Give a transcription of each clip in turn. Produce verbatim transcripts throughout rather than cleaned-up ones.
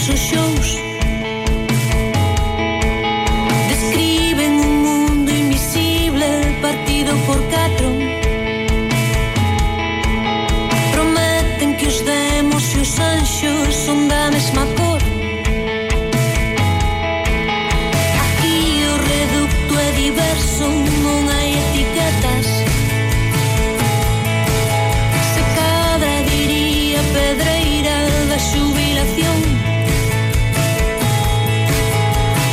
nosos shows. Describen un mundo invisible partido por catro. Prometen que os demos e os anxos son da mesma cor. Aquí o reducto é diverso, non hai etiquetas. Se cadra diría pedreira da xubilación.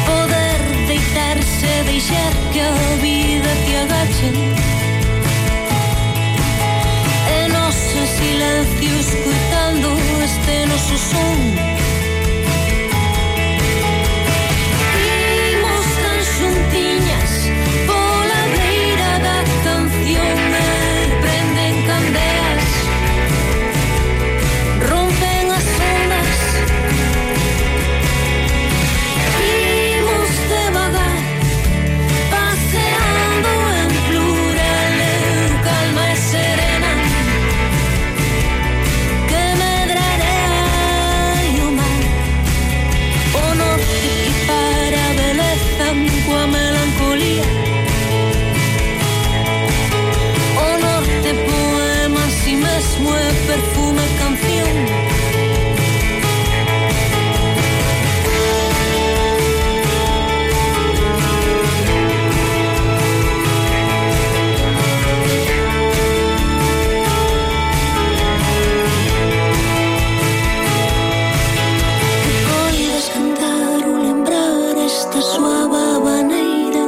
Poder deitarse e deixar que a vida te agachen. E nós en silencio escutando este noso son. Imos tan xuntiñas pola beira da canción e prenden candelas, rompen as ondas. Imos devagar, paseando en plural, eu calma e serena, que medrarei o mar. O norte equipara a beleza coa melancolía. O norte poema en si mesmo é perfume e canción. Podes cantar ou lembrar esta suave habaneira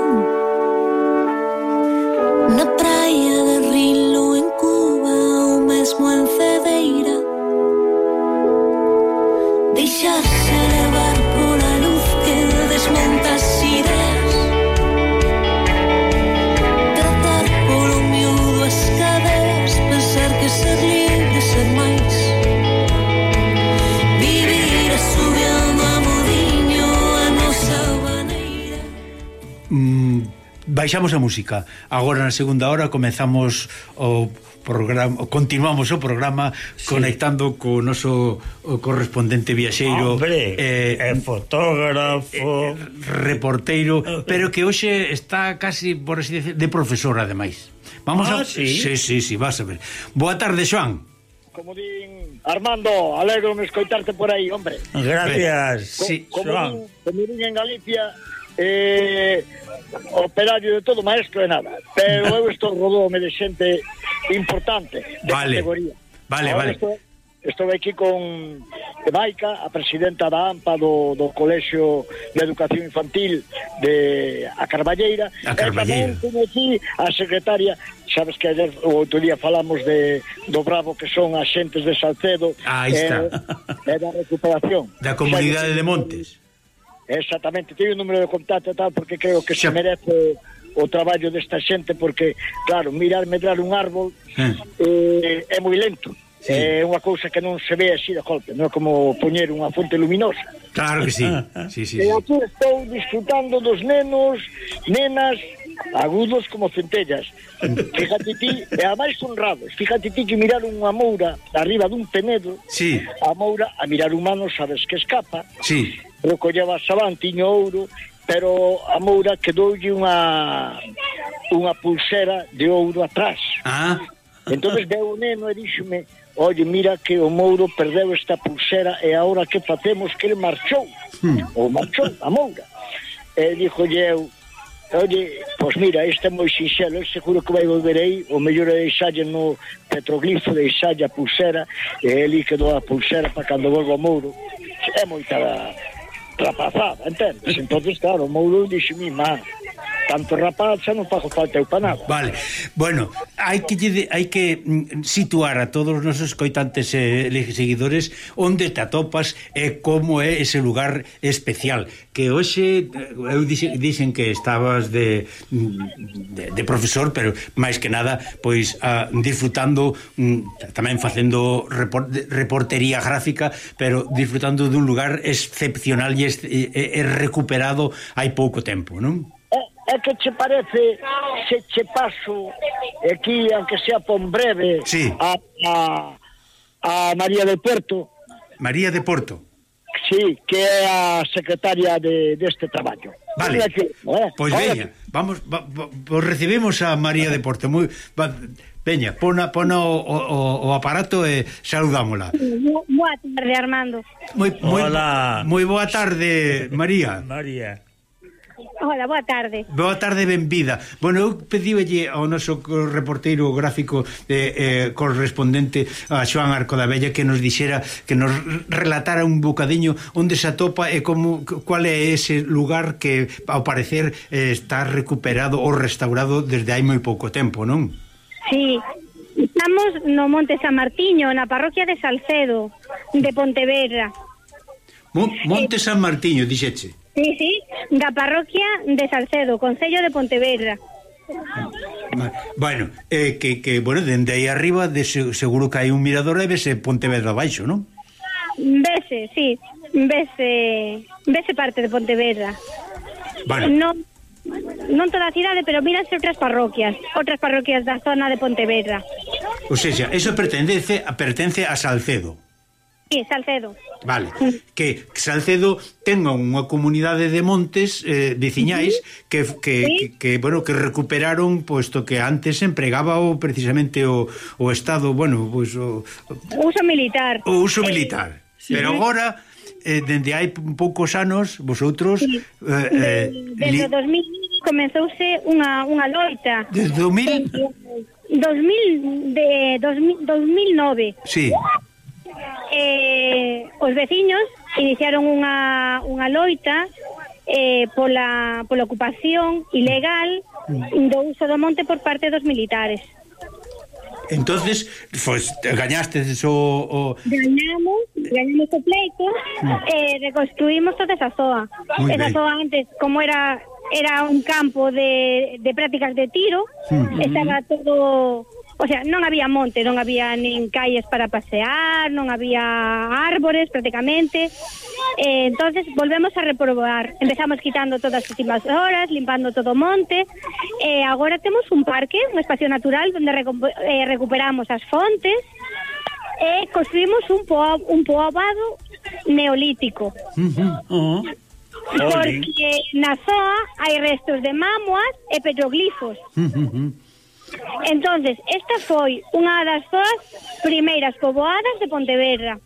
na praia de Rilo, en Cuba ou mesmo en Cedeira. Deixarse levar pola luz que desmonta as ideas. Tratar polo miúdo as cadeas, pensar que ser libre, ser máis. Vivir asubiando a modiño a nosa maneira. Mm, baixamos a música. Agora na segunda hora comezamos o programa, continuamos o programa sí, conectando co noso o correspondente viaxeiro, hombre, eh, é fotógrafo, eh, reporteiro, pero que hoxe está casi, por así decir, de profesor ademais. Vamos ah, a sí? Sí, sí, sí, vas a ver. Boa tarde, Xoán. Como din Armando, alegro-me escoitarte por aí, hombre. Gracias. Co- Sí, como Xoán. din, como din en Galicia, eh, operario de todo, maestro de nada. Pero eu estou rodome de xente importante, de Vale. categoría. Vale, Ahora vale. Estou, estou aquí con Maica, a presidenta da AMPA do, do Colexio de Educación Infantil de a Carballeira. A Carballeira. E tamén teño aquí a secretaria, sabes que ayer o outro día falamos de do bravo que son as xentes de Salcedo. Aí está. E da recuperación. Da comunidade de Montes. Exactamente, teño o número de contacto e tal, porque creo que Xa. se merece o traballo desta xente, porque, claro, mirar medrar un árbol Eh. eh, é moi lento. Sí. É unha cousa que non se ve así de golpe, non é como poñer unha fonte luminosa. Claro que sí. Sí, sí, E sí. aquí estou disfrutando dos nenos, nenas, agudos como centellas. Fíjate ti, e a máis honrados. Fíjate ti que mirar unha moura arriba dun penedo, Sí. a moura a mirar humano sabes que escapa, Sí. recolleva sabán, tiño ouro, pero a moura quedoulle unha unha pulsera de ouro atrás. Ah. Entonces veo o neno e díxome: oye, mira que o mouro perdeu esta pulsera e agora que facemos, que ele marchou. Hmm. Ou marchou a moura. E díxolle eu: oye, pois mira, este é moi sinxelo, eu seguro que vai volver aí, o mellor é deixalle no petroglifo, deixalle a pulsera, e ele quedou a pulsera para cando volva o mouro. É moita rapazada, entendes? Entonces, claro, o mouro dixe: mi má, tanto rapaz xa non fago falta eu para nada. Vale. Bueno, hai que lle- hai que mm, situar a todos os nosos coitantes e eh, seguidores onde te atopas e como é ese lugar especial, que hoxe eh, eu dixen, dixen que estabas de, de de profesor, pero máis que nada pois a, disfrutando mm, tamén facendo report, reportería gráfica, pero disfrutando dun lugar excepcional e, e, e recuperado hai pouco tempo, non? É que che parece se che paso aquí, aunque sea por breve, Sí. a, a, a María del Puerto? María de Porto. Sí, que é a secretaria de deste traballo. Vale, Que, eh? pois veña, vamos, va, va, pues recibimos a María de Porto. Muy, va, veña, pona, pona o, o, o aparato e saludámola. Boa tarde, Armando. Moi, moi, Hola. moi boa tarde, María. María. Hola, boa tarde. Boa tarde, benvida. Bueno, eu pedíbelle ao noso reporteiro gráfico eh, eh, correspondente a Xoán Arco da Vella que nos dixera, que nos relatara un bocadiño onde se atopa e como, cual é ese lugar que ao parecer eh, está recuperado ou restaurado desde hai moi pouco tempo, non? Sí, estamos no Monte San Martiño, na parroquia de Salcedo, de Pontevedra. Mon Monte San Martiño, dixeche. Sí, sí, da parroquia de Salcedo, concello de Pontevedra. Bueno, eh, que, que bueno, dende aí arriba de, seguro que hai un mirador e vese Pontevedra abaixo, non? Vese, sí, vese, vese parte de Pontevedra. Bueno. Non, non toda a cidade, pero míranse outras parroquias, outras parroquias da zona de Pontevedra. Ou seja, eso pertence, pertence a Salcedo. Sí, Salcedo. Vale, que Salcedo ten unha comunidade de montes eh, veciñais que, que, ¿Sí? que, que, bueno, que recuperaron, posto que antes empregaba o, precisamente o, o Estado, bueno, pues, o, Uso militar. o uso militar. Sí. Pero agora, eh, dende hai poucos anos, vosotros... Sí. Eh, eh, Desde o dos mil comenzouse unha, unha loita. Desde o mil... dos mil de dos mil, dos mil nove. Sí. Eh, os veciños iniciaron unha, unha loita eh, pola, pola ocupación ilegal do uso do monte por parte dos militares. Entonces, pues, gañaste o... o... Gañamos, gañamos o pleito e eh, reconstruímos toda esa zoa. Muy Esa ben. zoa antes, como era era un campo de, de prácticas de tiro, Mm. estaba todo... O sea, non había monte, non había nin calles para pasear, non había árbores prácticamente. Eh, entonces volvemos a reprobar. Empezamos quitando todas as últimas horas, limpando todo o monte. Eh, agora temos un parque, un espacio natural onde recu eh, recuperamos as fontes e construímos un, po un poboado neolítico. Oh. Porque na zoa hai restos de mámoas e petroglifos. Entonces, esta foi unha das zoas primeiras poboadas de Pontevedra.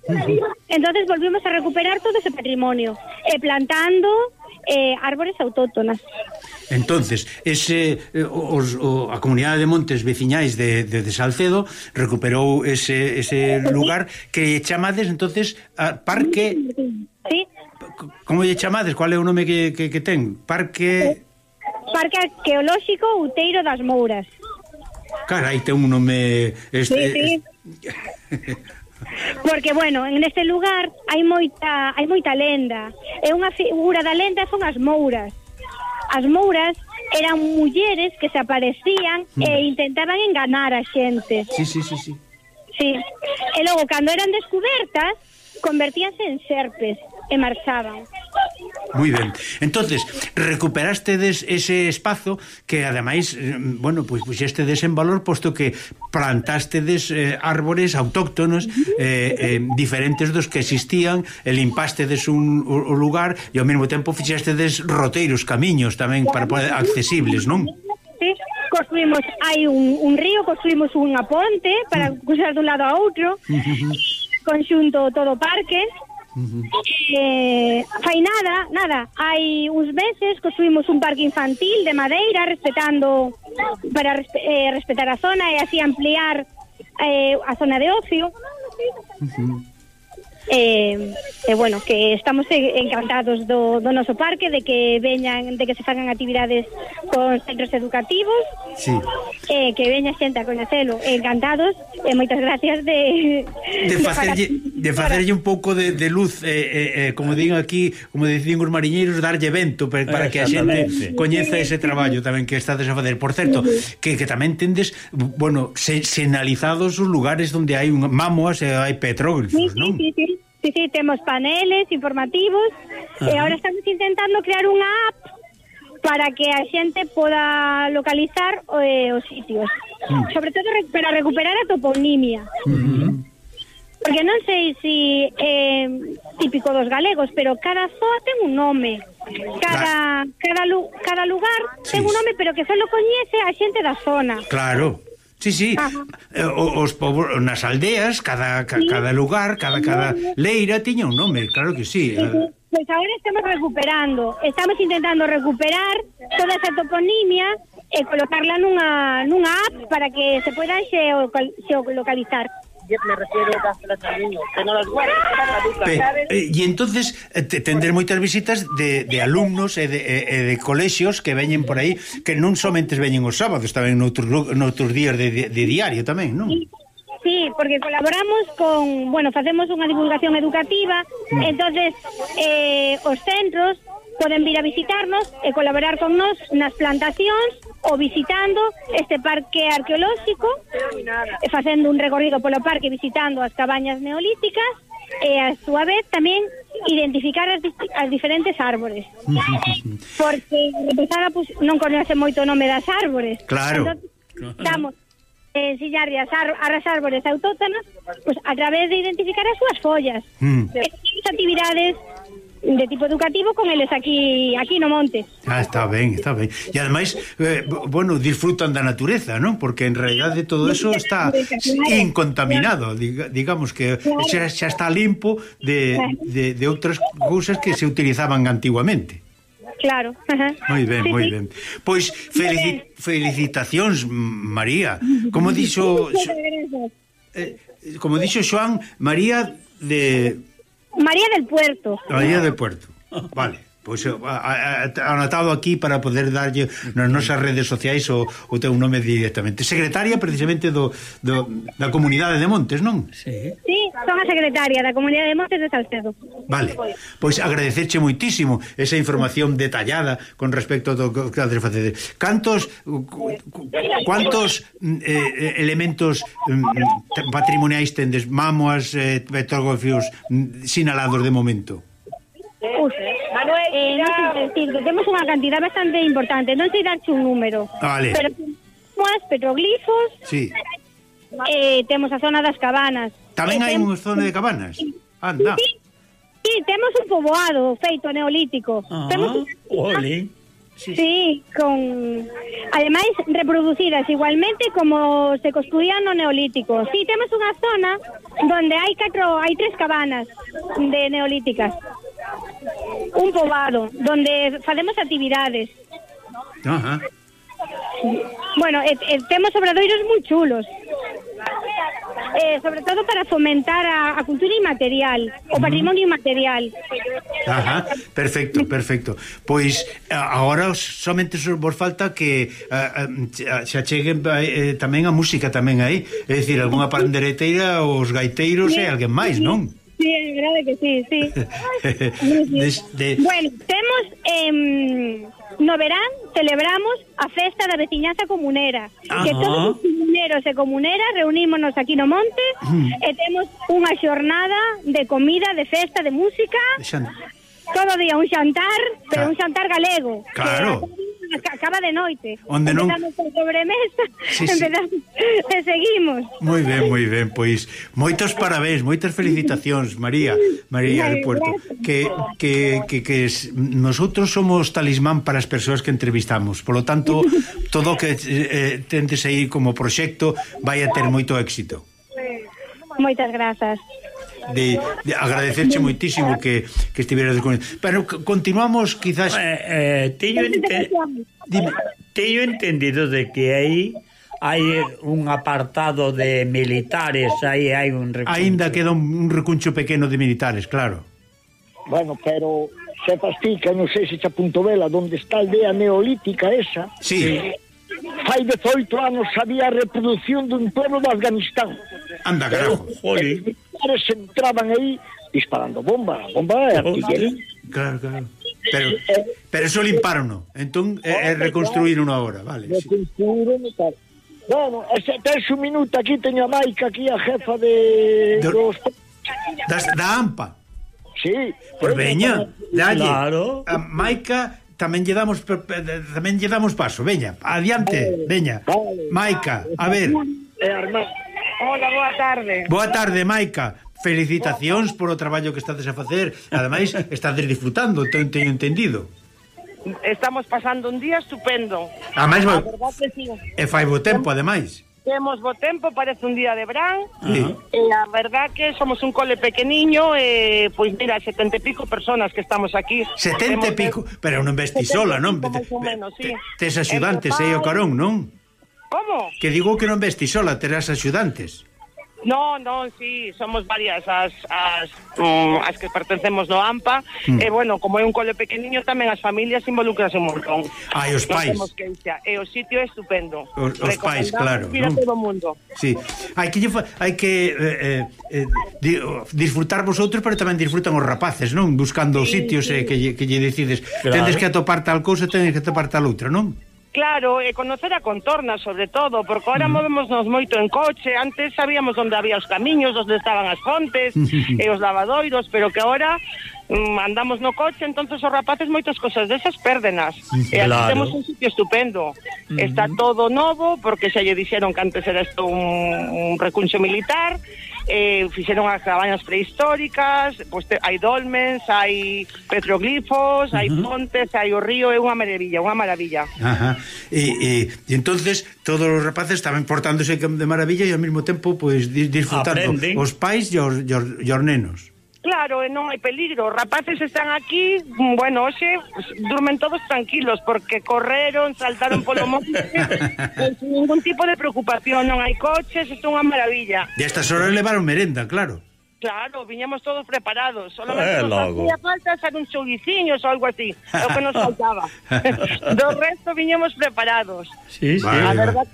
Entonces volvimos a recuperar todo ese patrimonio e plantando eh, árbores autóctonas. Entonces, ese eh, os, o, a comunidade de montes veciñais de, de, de Salcedo recuperou ese, ese lugar que chamades entonces a Parque... Sí. Como lle chamades? Cual é o nome que, que, que ten? Parque... Parque Arqueolóxico Outeiro das Mouras. Carai, ten un nome... Este, Sí, sí. Porque, bueno, en este lugar hai moita hai moita lenda. E unha figura da lenda son as mouras. As mouras eran mulleres que se aparecían mm. e intentaban enganar a xente. Sí, sí, sí, sí. Sí. E logo, cando eran descubertas, convertíanse en serpes e marchaban. Moi ben. Entonces, recuperastedes ese espazo que ademais, bueno, pois pues, puxestedes en valor posto que plantastedes eh, árbores autóctonos eh, eh, diferentes dos que existían, e limpastedes un, un lugar e ao mesmo tempo fixestedes roteiros, camiños tamén para poder accesibles, non? Sí. Construímos, hai un, un río, construímos unha ponte para cruzar dun lado a outro, conxunto todo o parque. Uh-huh. eh, fai nada, nada hai uns meses construímos un parque infantil de madeira respetando para respe eh, respetar a zona e así ampliar eh, a zona de ocio. Uh-huh. eh, e bueno, que estamos encantados do, do noso parque, de que veñan, de que se fagan actividades con centros educativos. Sí. Eh, que veña xente a coñecelo, encantados, e moitas gracias de de facerlle, de facerlle un pouco de, de luz, eh, eh, como digo aquí, como dicen os mariñeiros, darlle vento para, para que a xente coñeza ese traballo tamén que estades a facer. Por certo, que, que tamén tendes, bueno, se, senalizados os lugares onde hai un, mámoas e hai petróglifos, sí, non? Sí, sí, sí. Sí, sí, temos paneles informativos. Ajá. E agora estamos intentando crear unha app para que a xente poda localizar eh, os sitios. Mm. Sobre todo para recuperar a toponimia. Mm-hmm. porque non sei se é típico dos galegos, pero cada zoa ten un nome. Cada cada, lu, cada lugar sí. ten un nome, pero que só lo coñece a xente da zona. Claro. Sí, sí, eh, os povos nas aldeas, cada, ca, sí. cada lugar, cada, cada leira tiña un nome, claro que sí. Sí, sí. Pues agora estamos recuperando, estamos intentando recuperar toda esa toponimia e colocarla nunha, nunha app para que se puedan geolocalizar. Me refiero a desplazamiento, que no las guardas, eh, e entonces eh, tender moitas visitas de, de alumnos e de, e de colexios que veñen por aí, que non somente veñen os sábados, tamén noutros, noutros días de, de, de diario tamén, non? Sí. Sí, porque colaboramos con, bueno, facemos unha divulgación educativa, mm. entonces eh, os centros poden vir a visitarnos e colaborar con nós nas plantacións ou visitando este parque arqueolóxico, e facendo un recorrido polo parque visitando as cabañas neolíticas e a súa vez tamén identificar as, as diferentes árbores. Porque empezar a pues, non conoce moito o nome das árbores. Claro. Entonces, damos eh, ensillarle as, ar as árbores autóctonas pues, a través de identificar as súas follas. Mm. Estas actividades de tipo educativo con eles aquí aquí no monte. Ah, está ben, está ben. E ademais, eh, bueno, disfrutan da natureza, non? Porque en realidade todo eso está incontaminado, digamos que xa, xa está limpo de, de, de outras cousas que se utilizaban antiguamente. Claro. Moi ben, moi ben. Pois felici felicitacións, María. Como dixo eh, como dixo Xoán, María de María del Puerto. María del Puerto. Vale. Pois pues, anotado aquí para poder darlle nas nosas redes sociais o, o teu nome directamente. Secretaria precisamente do, do, da Comunidade de Montes, non? Sí. Sí, son a secretaria da Comunidade de Montes de Salcedo. Vale. Pois pues agradecerche moitísimo esa información detallada con respecto ao que has de facer. Cantos cuántos eh, elementos eh, patrimoniais tendes, mámoas, eh, petroglifos sinalados de momento? Uf, eh, non sei decir, que temos unha cantidad bastante importante, non sei darche un número, vale. Pero temos petroglifos, sí. eh, temos a zona das cabanas. Tamén eh, hai unha zona de cabanas? Anda. Sí, sí, temos un poboado feito neolítico. Ah, temos un... Ole. Sí, sí, con ademais reproducidas igualmente como se construían no neolítico. Sí, temos unha zona donde hai catro, hai tres cabanas de neolíticas. Un poboado donde facemos actividades. Ajá. Bueno, eh, eh, temos obradoiros moi chulos. Eh, sobre todo para fomentar a, a cultura inmaterial, o patrimonio inmaterial. Ajá, perfecto, perfecto. Pois agora somente vos falta que uh, se acheguen eh, tamén a música tamén aí, é dicir, algunha pandereteira, os gaiteiros sí, e alguén máis, non? Sí, é verdade que sí, sí. Des, de... Bueno, temos eh, no verán celebramos a festa da veciñanza comunera. Ajá. Que todos os comuneros e comuneras reunímonos aquí no monte mm. e temos unha xornada de comida, de festa, de música. Xan... Todo día un xantar, pero claro. un xantar galego. Claro. Que acaba de noite. Onde non... Empezamos por sobremesa, sí, empezamos sí. e seguimos. Moi ben, moi ben, pois moitos parabéns, moitas felicitacións, María, María del Puerto. Que, que, que, que nosotros somos talismán para as persoas que entrevistamos. Por lo tanto, todo o que eh, tentes aí como proxecto vai a ter moito éxito. Moitas grazas. De, de agradecerche moitísimo que, que estiveras con ele. Pero continuamos quizás eh, eh, teño, ente... teño entendido de que aí hai un apartado de militares, aí hai un recuncho. Ainda queda un, un recuncho pequeno de militares, claro. Bueno, pero se fastica, non sei se te apunto vela, onde está a aldea neolítica esa. Sí. Fai dezoito anos había a reproducción dun pueblo de Afganistán. Anda, carajo. Jolín. Se entraban aí disparando bomba, bomba de artillería. Claro, claro. Pero, pero eso limparon, entón é, é reconstruíron agora, vale. Reconstruíron e tal. Bueno, ese, tes un minuto aquí, teño a Maica aquí, a jefa de... de... Dos... Das, da AMPA. Sí. Pues veña, dalle. Claro. A Maica tamén lle damos tamén lle damos paso, veña, adiante, veña. Vale. Maica, a ver. Eh, Armando. Hola, boa tarde. Boa tarde, Maica. felicitacións por o traballo que estades a facer. Ademais, estades disfrutando, teño entendido. Estamos pasando un día estupendo. Ademais, A verdad que sí. e fai bo tempo, ademais. Temos bo tempo, parece un día de verán. Sí. E a verdad que somos un cole pequeniño, e pois mira, setenta e pico personas que estamos aquí. Setenta e pico, pero non vesti sola, non? Máis ou menos, sí. Tes axudantes aí o carón, non? Como? Que digo que non vesti sola, terás axudantes. No, non, sí, somos varias as as, um, as que pertencemos no AMPA, mm. e bueno, como é un cole pequeniño tamén as familias involucras un montón. Ai, os pais. Non temos queixa, e o sitio é estupendo. Os, os pais, claro. Mira ¿no? todo o mundo. Sí, hai que hai que eh, eh, di, disfrutar vosotros, pero tamén disfrutan os rapaces, non? Buscando sí, sitios sí. Eh, que, lle, que lle decides, claro. Tendes que atopar tal cousa, tendes que atopar tal outra, non? Claro, e conocer a contorna, sobre todo, porque ahora mm. movémonos moito en coche. Antes sabíamos onde había os camiños, onde estaban as fontes e os lavadoiros, pero que ahora mm, andamos no coche, entonces os rapaces moitas cosas desas pérdenas. Claro. E aquí temos un sitio estupendo. Mm. Está todo novo, porque xa lle dixeron que antes era isto un, un recuncho militar. Eh, fixeron as cabañas prehistóricas, pois pues, hai dolmens, hai petroglifos, uh -huh. hai pontes, hai o río, é unha maravilla, unha maravilla. Ajá. E, e, e entonces todos os rapaces estaban portándose de maravilla e ao mesmo tempo pues, disfrutando Aprenden. Os pais e os, e os, e os nenos. Claro, e non hai peligro. Os rapaces están aquí, bueno, hoxe pues, durmen todos tranquilos porque correron, saltaron polo monte sin ningún tipo de preocupación, non hai coches, isto é unha maravilla. E a estas horas levaron merenda, claro. Claro, viñamos todos preparados. Solamente eh, nos hacía falta hacer un chouriciños ou algo así, é o que nos faltaba. Do resto viñamos preparados. Sí, sí. Vale, a verdad,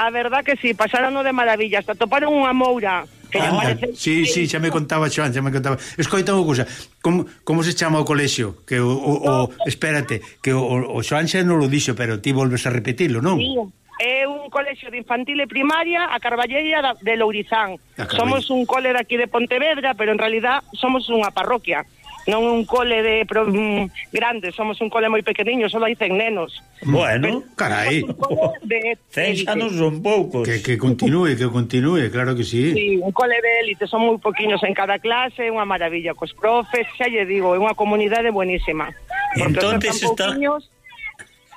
a verdad que sí, pasaron de maravilla, hasta toparon unha moura. Ah, parece... Sí, sí, xa me contaba Xoan, xa me contaba. Escoita unha cousa, como, como se chama o colexio? Que o, o, o espérate, que o, o Xoan xa non lo dixo, pero ti volves a repetilo, non? Sí, é un colexio de infantil e primaria a Carballeira de Lourizán. Somos un cole de aquí de Pontevedra, pero en realidad somos unha parroquia. Non un cole de pro, mm, grande, somos un cole moi pequeniño, só hai cen nenos. Bueno, pero, carai. cen xa non son poucos. Que, que continúe, que continúe, claro que sí. Sí, un cole de élite, son moi poquiños en cada clase, é unha maravilla cos profes, xa lle digo, é unha comunidade buenísima. Entonces está...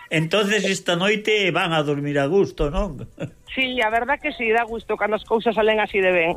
Entonces esta noite van a dormir a gusto, non? Sí, a verdad que sí, dá gusto cando as cousas salen así de ben.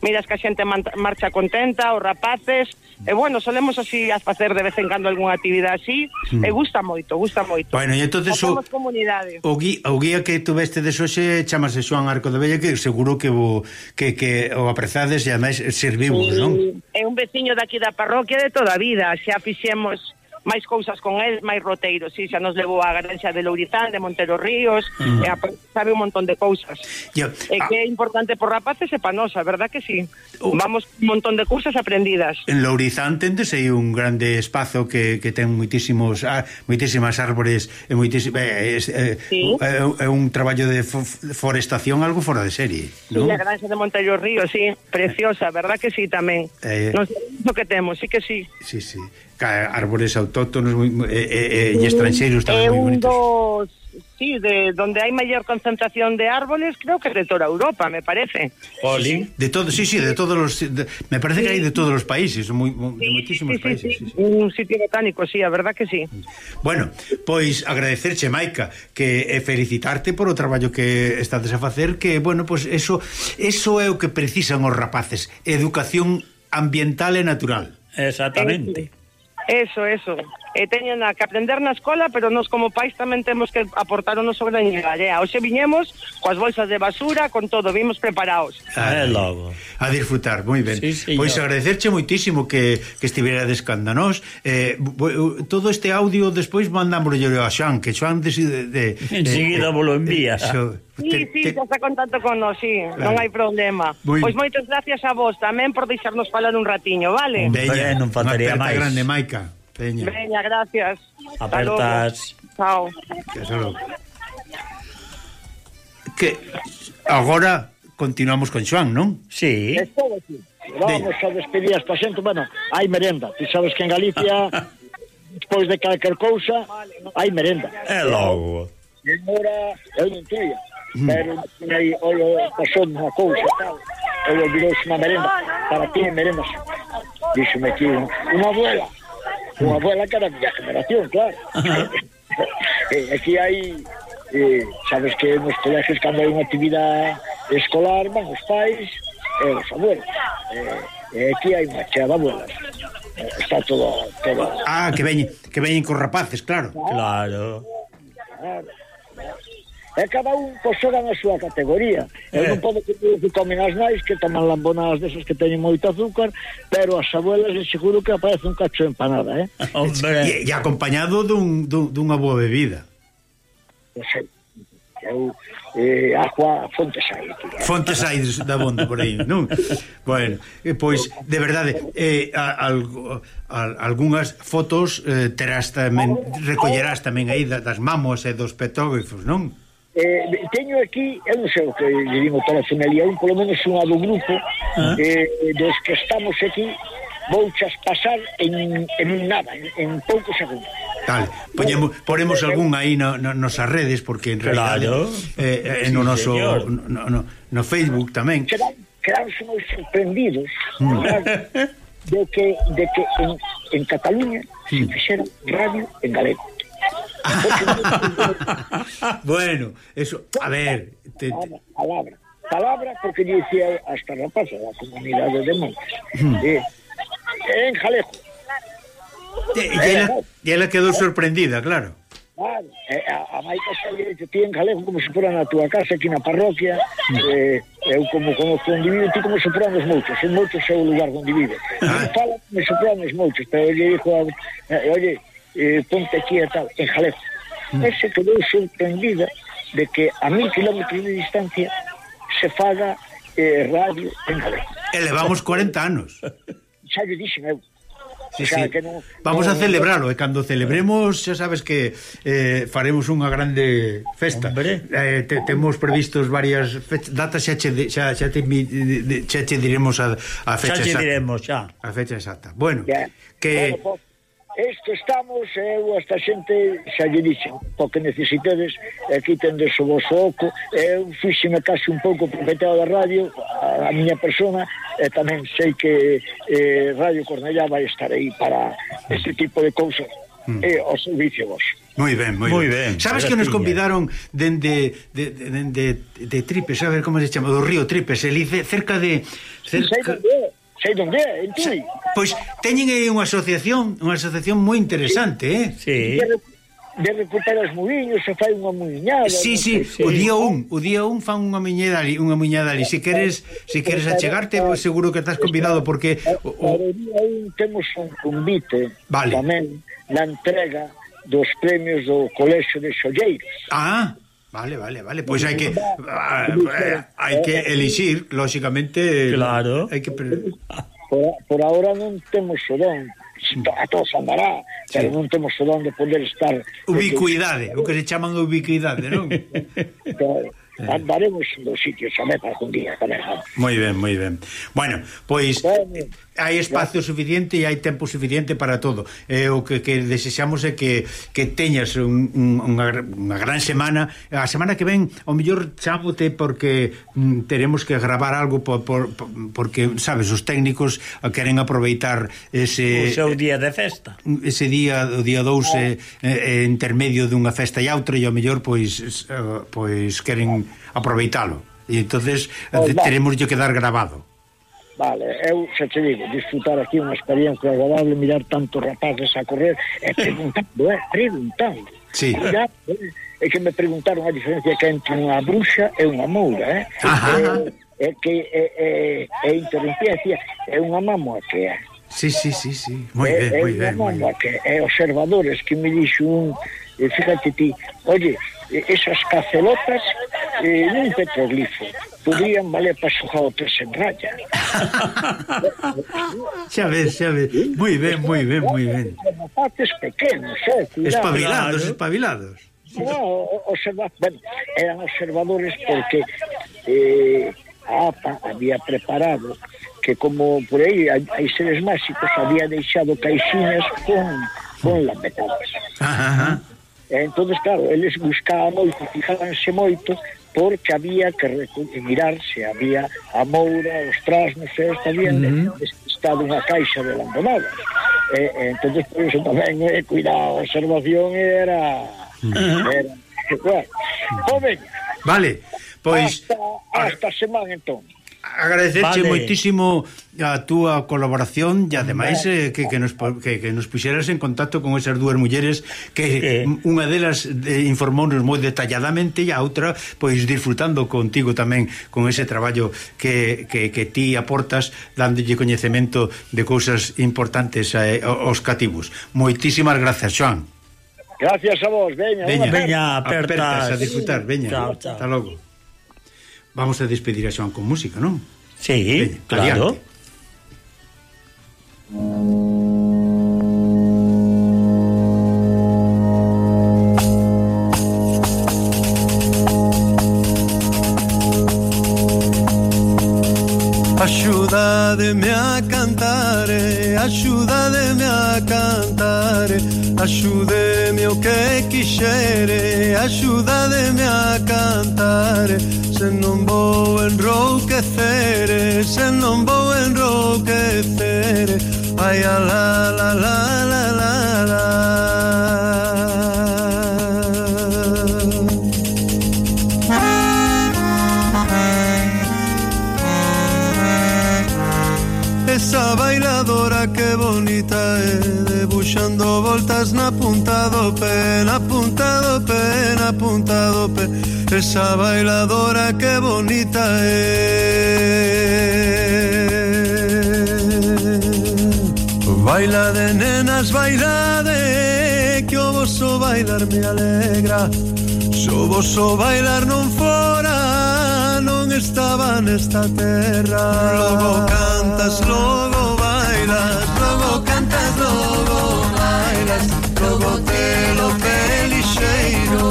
Miras que a xente marcha contenta, os rapaces, e bueno, solemos así a facer de vez en cando algunha actividade así, mm. e gusta moito, gusta moito. Bueno, e entonces o, o, guía, o guía que tuveste de xoxe chamase Xoan Arco de Vella, que seguro que o, que, que o aprezades e ademais servimos, sí, non? É un veciño daqui da parroquia de toda a vida, xa fixemos máis cousas con el, máis roteiros, si, xa nos levou a Granxa de Lourizán, de Montero Ríos, uh -huh. e a, sabe un montón de cousas. Yeah. E ah. que é importante por rapaces e pa nosa, verdad que sí? Uh. Vamos un montón de cousas aprendidas. En Lourizán tendes aí un grande espazo que, que ten moitísimos ah, moitísimas árbores e moitísimas eh, eh, sí. é, é un traballo de forestación algo fora de serie, ¿no? Sí, a Granxa de Montero Ríos, sí, preciosa, verdad que sí tamén. Eh. Non sei o que temos, sí que sí. Sí, sí. Árbores autóctonos e eh, eh, eh, estranxeiros tamén moi bonitos. Dos, sí, de donde hai maior concentración de árboles, creo que de toda Europa, me parece. Poli. De todo, sí, sí, de todos los de, me parece sí. que hai de todos os países, moi, de sí, moitísimos sí, sí, países, sí. Sí, sí. Un sitio botánico, sí, a verdad que sí. Bueno, pois agradecerche, Maica, que e felicitarte por o traballo que estades a facer, que bueno, pois eso eso é o que precisan os rapaces, educación ambiental e natural. Exactamente. Sí. Eso, eso. E teñen que aprender na escola, pero nos como pais tamén temos que aportar o noso graño de area. Hoxe viñemos coas bolsas de basura, con todo, vimos preparados. Ah, logo. A disfrutar, moi ben. Sí, pois agradecerche moitísimo que, que estivera descándanos. Eh, todo este audio despois mandámoslo a Xoan, que Xoan decide de, de, enseguida vos lo envías. Eso. Sí, te, sí, te... xa está contacto con nós, sí, claro. Non hai problema. Muy... Pois moitas gracias a vos tamén por deixarnos falar un ratiño, vale? Veña, non faltaría máis. Grande, Maica. Veña. Veña, gracias. Apertas. Chao. Que agora continuamos con Xoan, non? Sí. Estou aquí. Vamos a despedir esta xente, bueno, hai merenda. Ti sabes que en Galicia despois de calquer cousa hai merenda. É logo. E agora, eu non tuia, pero aí, olha, pasou unha cousa, tal, eu olvidou-se unha merenda. para ti en merenda santa. Díxome aquí unha abuela, unha abuela que era da generación, claro. eh, aquí hai, eh, sabes que nos colegios cando hai unha actividade escolar van os pais e os abuelos. Eh, eh, aquí hai unha chea de abuelas. Eh, está todo, todo... Ah, que veñen, que veñen con rapaces, claro. Claro. Claro. E cada un pois xoga na súa categoría. Eu Eh. non podo que que comen as nais que toman lambonadas desas que teñen moito azúcar, pero as abuelas é seguro que aparece un cacho de empanada, eh? Hombre. E, e acompañado dun, dun, dunha boa bebida. Non sei. Eu, eh, agua Fontes hai aquí. Eh? Fontes hai da bondo por aí, non? Bueno, eh, pois, de verdade, eh, a, algo, a, algunhas fotos eh, terás tamén, recollerás tamén aí da, das mamos e dos petógrafos, non? Eh, teño aquí, eu non sei o que lle digo telefonelía, un polo menos unha do grupo, ¿Ah? eh, dos que estamos aquí, vouchas pasar en, en nada, en, en poucos segundos. Vale, poñemos, poremos algún aí no, no, nosas redes, porque en realidade Claro. eh, eh, no Sí, noso señor. no, no, no Facebook tamén. Quedan, quedanse moi sorprendidos ¿verdad? de que, de que en, en Cataluña se fixera radio en galego. Bueno, eso, a ver, te, te, Palabra, palabra, palabra porque lle dicía hasta rapaza da comunidade de Montes. Eh, en Jalejo. te, e ela, e ela quedou sorprendida, claro. Claro, eh, a, a maica xa lle dice ti en Jalejo como se fora na túa casa aquí na parroquia. eh, eu como conozco onde vive, ti como se foranos moitos, en moitos é o lugar onde vive. Ah. Fala como se foranos moitos, pero lle dijo a, eh, oye, eh, ponte aquí e tal, en Jalejo. Mm. Ese quedou sorprendida de que a mil kilómetros de distancia se faga eh, radio en Jalejo. E levamos cuarenta anos. Xa lle dixen eu. Sí, O sea, sí. que non, Vamos non, a celebralo, e cando celebremos xa sabes que eh, faremos unha grande festa. Hombre. Eh, te, temos previstos varias fechas, datas xa che, xa, xa te, mi- de- de- xa che diremos a, a fecha Xa che exacta. diremos, xa. A fecha exacta. Bueno, Ya. que Bueno, pues, isto estamos, eu, esta xente, xa lle dixen, o que necesitedes, aquí tendes o vosso oco, eu fíxeme casi un pouco propietario da radio, a, a miña persona, e tamén sei que eh, Radio Cornellá vai estar aí para este tipo de cousas, mm. e o servicio vos. moi ben, moi, Moi ben. ben, Sabes que nos graciña. convidaron dende de, de, de, de, de Tripes, a ver como se chama, do río Tripes, eli cerca de Sei cerca, onde é, sei onde é, en Tui. pois teñen aí unha asociación, unha asociación moi interesante, eh? Sí. De, de recuperar os muiños, se fai unha muiñada. Sí, non sí, sei. o día un, o día un fan unha miñada ali, unha miñada ali. Si queres, si queres achegarte, pois seguro que estás convidado porque o, o, Para o día un temos un convite Vale. tamén na entrega dos premios do Colexio de Xolleiros. ah, vale, vale, vale, pois hai que ah, eh, hai que elixir, lógicamente, Claro. hai que pre- Por, por ahora non temos o don, a todos andará, pero non temos o don de poder estar... ubicuidade, o que se chaman ubicuidade, non? Que, andaremos dos sitios a ver para un día tamén. Moi ben, moi ben. Bueno, pois Bueno, hai espacio suficiente e hai tempo suficiente para todo. E o que, que desexamos é que, que teñas un, un, unha, unha gran semana. A semana que ven, ao mellor chámote porque mm, teremos que gravar algo por, por, por, porque, sabes, os técnicos queren aproveitar ese O seu día de festa. ese día, o día dous é, é, é intermedio dunha festa e outra e ao mellor pois, eh, pois queren aproveitalo. E entonces Oh, eh, va. teremos que quedar grabado. vale, eu xa te digo, disfrutar aquí unha experiencia agradable, mirar tantos rapaces a correr e preguntando, eh, preguntando. Sí. Ya, eh, é que me preguntaron a diferencia que entre unha bruxa e unha moura, eh? Ajá. É, é que é, é, é interrumpiencia, é unha mamoa que é. Sí, sí, sí, sí. Moi é, ben, moi é ben, unha moi mamoa ben. que é observadores que me dixo un, eh, fíjate ti, oye, eh, esas cacelotas eh, nun petroglifo podrían valer para xogar o tres en raya. Xa ves, xa ves. Moi ben, moi ben, moi ben. Rapaces pequenos, eh, cuidado. Espabilados, Claro. espabilados. No, observa, bueno, eran observadores porque eh, a APA había preparado que como por aí hai, hai seres máxicos, había deixado caixinas con, con lampetabas. Ajá, ajá. E entonces, claro, eles buscaban moito, fijábanse moito, porque había que mirar se había a moura, os trasnos, esta bien, uh-huh. estado unha caixa de abandonadas. E, e entonces, por iso tamén, eh, cuidado, a observación era... Uh-huh. era bueno, pues veña. Vale, pois... Hasta, hasta a semana, entón. Agradecerche vale. moitísimo a túa colaboración e ademais eh, que, que, nos, que, que nos puxeras en contacto con esas dúas mulleres que eh. unha delas eh, informounos moi detalladamente e a outra pois disfrutando contigo tamén con ese traballo que, que, que ti aportas dándolle coñecemento de cousas importantes eh, aos cativos. Moitísimas grazas, Xoán. Gracias a vos, veña, veña, veña apertas a disfrutar, veña. Chao, chao. Hasta logo. Vamos a despedir a Xoán con música, non? Sí, veña, claro. Adiante. Axúdademe a cantare, axúdademe a cantare, axúdeme o que quixere, axúdademe a cantare, se non vou enrouquecere, se non vou enrouquecere, ai a la la la la la la. Esa bailadora que bonita é, debuxando voltas na punta do pé, na punta do pé, na punta do pé. Esa bailadora que bonita é. Baila de nenas, baila de, que o vosso bailar me alegra. Se o vosso bailar non fora, non estaba nesta terra. Logo cantas, logo bailas, logo cantas, logo bailas, logo te lo pelixeiro.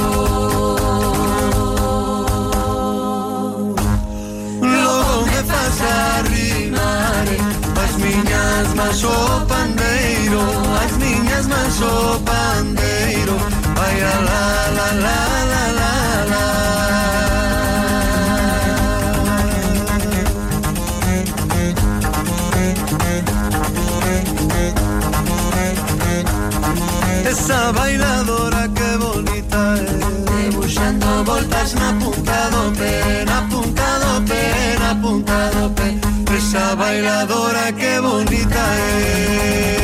Logo me faz arrimar as miñas mans o pandeiro, as miñas mans o pandeiro. Ai a la la la la la la. Esa bailadora que bonita é, debuxando voltas na punta do pé, na punta do pé, na punta do pé. Esa bailadora que bonita é.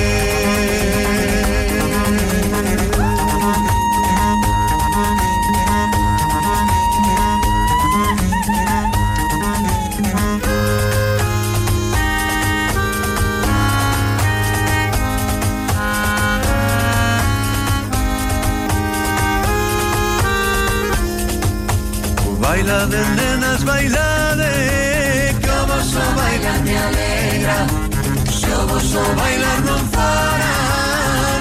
Baila de nenas, baila de, que o vosso bailar me alegra. Se o vosso bailar non fora,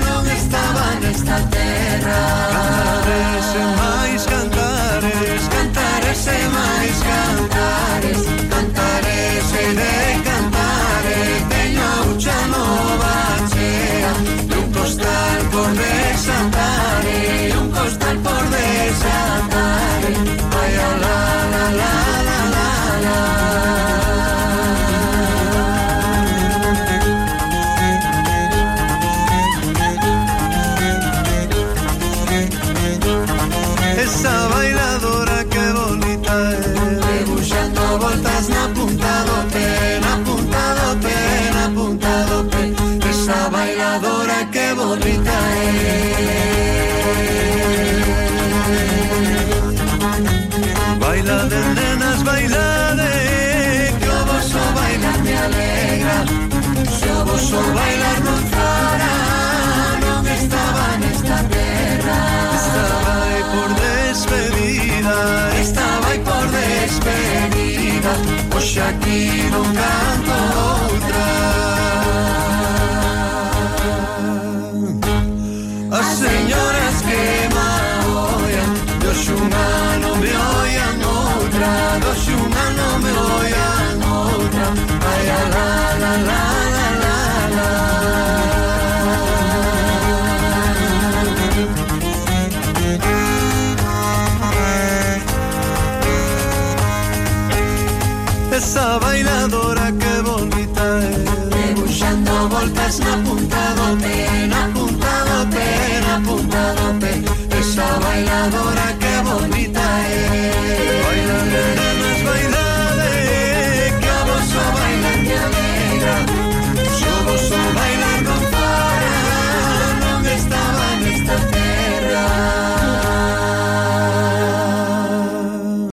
non estaba nesta terra. Cantares e máis cantares, cantares e máis cantares, cantares e de cantares. Teño a ucha nova chea, e un costal por desatar, e un costal por desatar. Ay, la la la la la la. Esa bailadora que bonita é, debuxando voltas na punta do pé, na punta do pé, na punta do pé. Esa bailadora que bonita é. Baila de nenas, baila de, que o vosso bailar me alegra. Se o vosso bailar non fora, non estaba nesta terra. Estaba aí por despedida, estaba aí por despedida. Hoxe aquí non canto outra. As señoras que me oian, hoxe unha non me oian outra, hoxe unha non me oian outra. Ai, la la la la la la. palmas na punta do pé, na punta do pé, na punta do pé. Esa bailadora